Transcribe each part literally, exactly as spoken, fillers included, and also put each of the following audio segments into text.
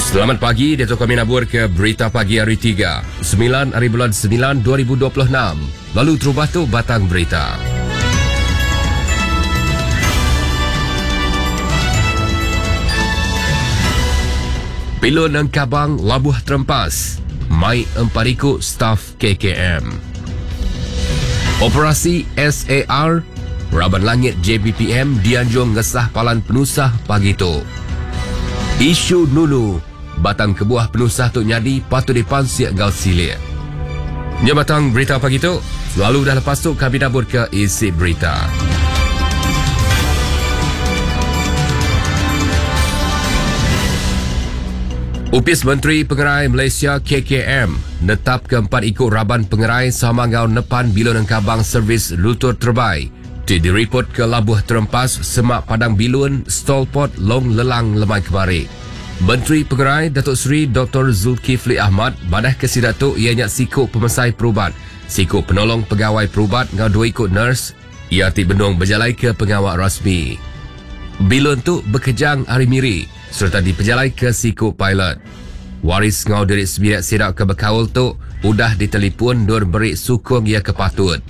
Selamat pagi, Dato' kami nabur ke Berita Pagi hari tiga, sembilan hari bulan sembilan dua ribu dua puluh enam. Lalu terubah tu batang berita. Pilun Engkabang Labuh Terempas, mai empariku staf K K M. Operasi S A R, Raban Langit J B P M dianjung ngesah palan penusah pagi tu. Isu Nunu, batang kebuah penusah tu nyadi patut dipansik gau silik. Nya batang berita pagi tu, selalu dah lepas tu kami dapur ke isi berita. Upis Menteri Pengerai Malaysia K K M netap ke empat ikut raban pengerai sama ngau nepan bilun engkabang servis lutur terbaik. Ti diripot ke Labuh Terempas semak Padang Bilun Stolport Long Lelang Lemai Kemari. Menteri Pengerai Datuk Seri Doktor Zulkifli Ahmad badah ke sidak tu ianya siku pemesai perubat, siku penolong pegawai perubat ngau dua ikut nurse, ia ti benung berjalai ke pengawal rasmi. Bilun tu bekejang hari miri serta dipejalai ke siku pilot. Waris ngau diri sebiak sidak ke bekaul tu udah ditelipon nur beri sukung ia ke patut.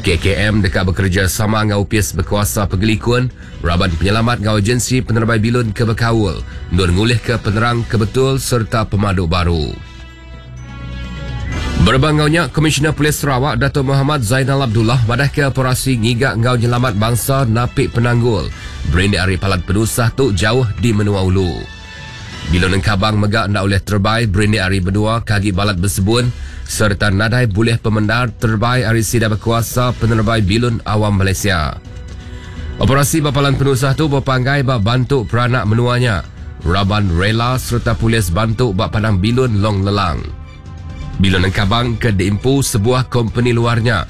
K K M dekat bekerja sama ngau U P S berkuasa Pegelikun, Raban Penyelamat ngau Agensi Penerbai Bilun ke Bekaul, nur ngulih ke penerang kebetul serta pemaduk baru. Berbangaunya, Komisioner Polis Sarawak Datuk Muhammad Zainal Abdullah madah ke operasi ngigak ngau nyelamat bangsa napik penanggul. Berindik ari palan penusah tu jauh di menua ulu. Bilun engkabang megak ndak oleh terbai berindik ari berdua kagi balat bersebun serta nadai boleh pemendar terbai ari sida berkuasa penerbai bilun awam Malaysia. Operasi bapalan penusah tu berpanggai bak bantu peranak menuanya. Raban rela serta polis bantu bak padang bilun Long Lelang. Bilun engkabang ke diimpu sebuah kompeni luarnya.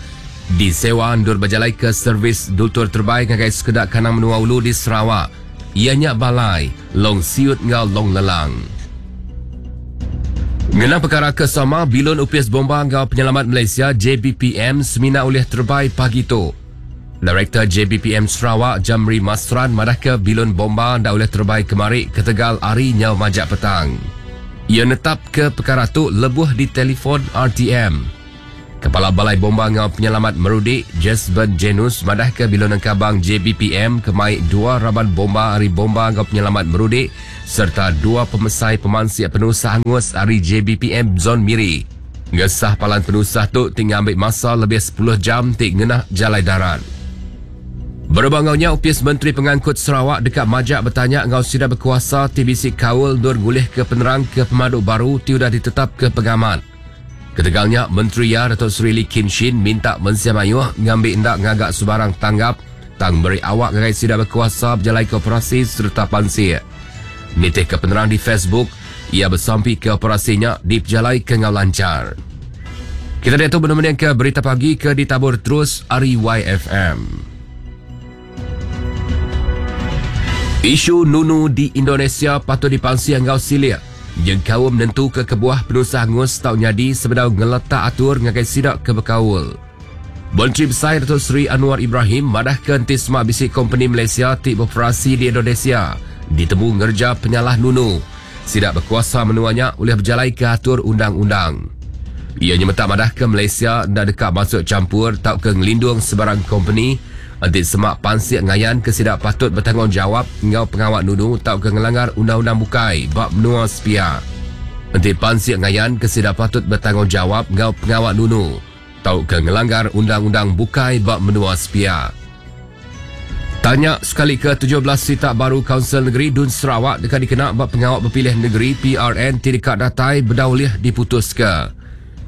Disewa ndur berjalai ke servis dutur terbaik ngagai sekedak kanang menua ulu di Sarawak. Ianya balai, Long Siut ngau Long Lelang. Mengenang perkara kesama, Bilun U P S Bomba ngau Penyelamat Malaysia J B P M semina oleh terbaik pagi tu. Direktur J B P M Sarawak Jamri Masran madah ke Bilun Bomba ndak oleh terbaik kemari ke Tegal ari nyau majak petang. Ia netap ke perkara tu lebuh di telefon R T M. Kepala Balai Bomba Ngau Penyelamat Merudik, Jesben Jenus madah ke Bilun Engkabang J B P M kemai dua raban bomba ari Bomba Ngau Penyelamat Merudik serta dua pemesai pemansik penusah angus ari J B P M Zon Miri. Ngesah palan penusah tu tinggal ambil masa lebih sepuluh jam tik ngenah jalai darat. Berbangaunya U P S Menteri Pengangkut Sarawak dekat majak bertanya ngau sida berkuasa T B C Kaul nur gulih ke penerang ke pemaduk baru ti udah ditetap ke pengamat. Ketegalnya, Menteri Ya Datuk Seri Lee Kim Shin minta Mensia Mayuh ngambil ndak ngagak sebarang tanggap tang beri awak ngagai sida berkuasa berjalai ke operasi serta pansir. Nitih ke penerang di Facebook, ia bersampi ke operasinya dipejalai ke ngau lancar. Kita lihat tu benar-benar ke berita pagi ke ditabur terus ari Y F M. Isu Nunu di Indonesia patut dipansi ngau silik. Yang kaum menentu ke kebuah penusah angus tau nyadi sebedau ngeletak atur ngagai sidak ke bekaul. Menteri Besar Datuk Seri Anwar Ibrahim madah ke entisma bisik kompeni Malaysia ti beroperasi di Indonesia ditemu ngerja penyalah Nunu. Sidak berkuasa menuanya oleh berjalai ke atur undang-undang. Ia nyemetak madah ke Malaysia ndak dekat masuk campur tau ke ngelindung sebarang kompeni anti semak pansik ngayan ke sidak patut bertanggungjawab ngau pengawak Nunu tau ke ngelanggar undang-undang bukai bab menua sepia. Anti pansik ngayan ke sidak patut bertanggungjawab ngau pengawak Nunu tau ke ngelanggar undang-undang bukai bab menua sepia. Tanya sekali ke tujuh belas sitak baru Kaunsil Negeri Dun Sarawak dekat dikena bab pengawak berpilih negeri P R N tidak datai berdaulih diputus ke.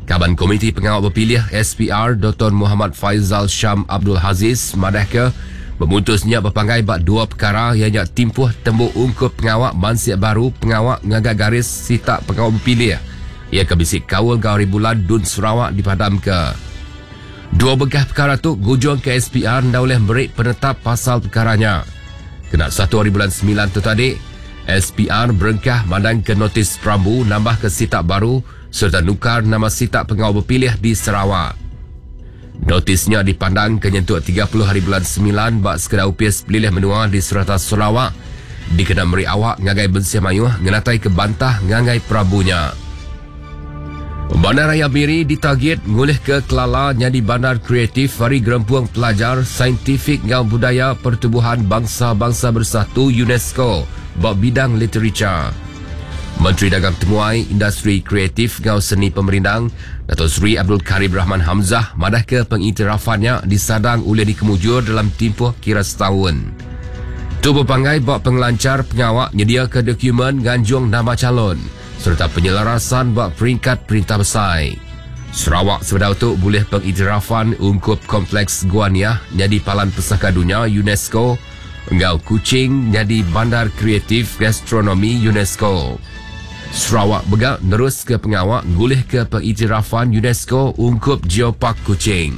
Kaban Komiti Pengawal Berpilih S P R Doktor Muhammad Faizal Syam Abdul Haziz madah ke pemutusnya berpanggai bak dua perkara ianya timpuh tembuk ungkup pengawak mansik baru pengawak ngagak garis sitak pengawak berpilih. Ia ke bisik kaul gauri bulan Dun Sarawak dipadam ke. Dua bekas perkara tu gujung ke S P R nda boleh beri penetap pasal perkaranya. Kena satu hari bulan sembilan tu tadi, S P R berengkah mandang ke notis perambu nambah ke sitak baru serta nukar nama sitak pengawal berpilih di Sarawak. Notisnya dipandang ke nyentuk tiga puluh hari bulan sembilan bak sekedar U P S pelilih menua di serata Sarawak Dikena meri awak ngagai mensia mayuh ngenatai ke bantah ngagai Prabunya. Bandaraya Miri ditagit ngulih ke kelala jadi bandar kreatif hari Gerempung Pelajar Saintifik ngau Budaya Pertubuhan Bangsa-Bangsa Bersatu UNESCO bab bidang literature. Menteri Dagang Temuai, Industri Kreatif ngau Seni Pemerindang, Datuk Seri Abdul Karim Rahman Hamzah madah ke pengintirafannya disadang oleh dikemujur dalam tempoh kira setahun. Tu berpanggai bak pengelancar pengawak nyedia ke dokumen ganjung nama calon serta penyelarasan bak peringkat perintah besar. Sarawak sebedau tu boleh pengiktirafan ungkup Kompleks Gua Niah jadi Palan Pesaka Dunia UNESCO engau Kuching jadi Bandar Kreatif Gastronomi UNESCO. Sarawak begak nerus ke pengawak ngulih ke pengiktirafan UNESCO ungkup Geopark Kuching.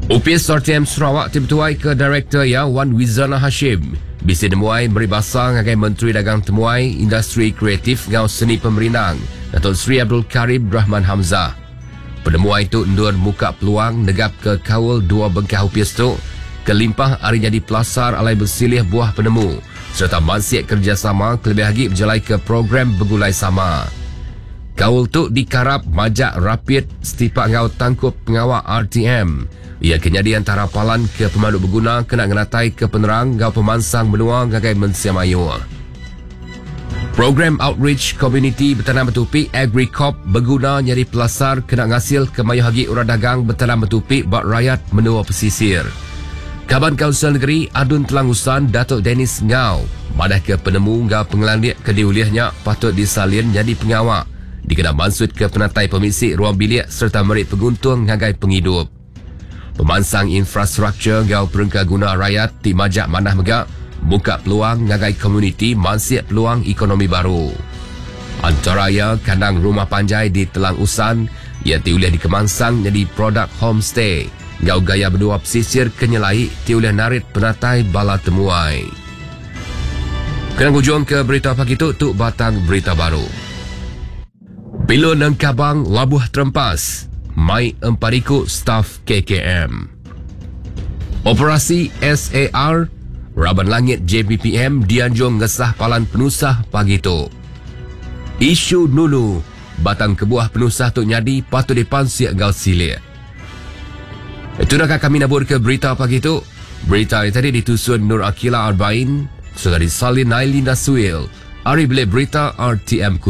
Upis R T M Sarawak timtuai ke Director ya Wan Wizana Hashim. Bisi nemuai beri basa ngagai Menteri Dagang Temuai, Industri Kreatif ngau Seni Pemerindang, Datuk Seri Abdul Karim Rahman Hamzah. Penemuai tu endur muka peluang negap ke kaul dua bengkah upis tu, kelimpah hari jadi pelasar alai bersilih buah penemu serta mansik kerjasama kelebih lagi berjalai ke program bergulai sama. Kaul tu dikarap majak rapid setipak ngau tangkup pengawak R T M. Ia kenyadi antara palan ke pemandu berguna kena ngenatai ke penerang ngau pemansang menua ngagai mensia mayuh. Program Outreach Community Bertanam Bertupi AgriCorp berguna nyari pelasar kena ngasil ke mayuh hagi orang dagang bertanam bertupi bak rakyat menua pesisir. Kaban Kaunsil Negeri Adun Telang Usan Datuk Dennis Ngau madah ke penemu ngau pengelandik ke diulihnya patut disalin jadi pengawak dikena maksud ke penatai pemisi ruang bilik serta merik penguntung ngagai penghidup. Pemansang infrastruktur ngau perengka guna rakyat ti majak manah megak buka peluang ngagai komuniti mansiak peluang ekonomi baru. Antara ia kandang rumah panjai di Telang Usan ia tiulih dikemansang jadi produk homestay ngau gaya berdua pesisir kenyelai tiulih narit penatai bala temuai. Kena hujung ke berita pagi tu, tu batang berita baru. Pilun dan Kabang labuh terempas. Mai empariku staf K K M. Operasi S A R Raban Langit J B P M dianjung ngesah palan penusah pagi tu. Isu nunu batang kebuah penusah tu nyadi patut dipansiak gal silik. Itu dah kami nabur ke berita pagi tu. Berita yang tadi ditusun Nur Akila Arbain, sudah disalin Nailina Suil. Ari beli berita R T M Kuching.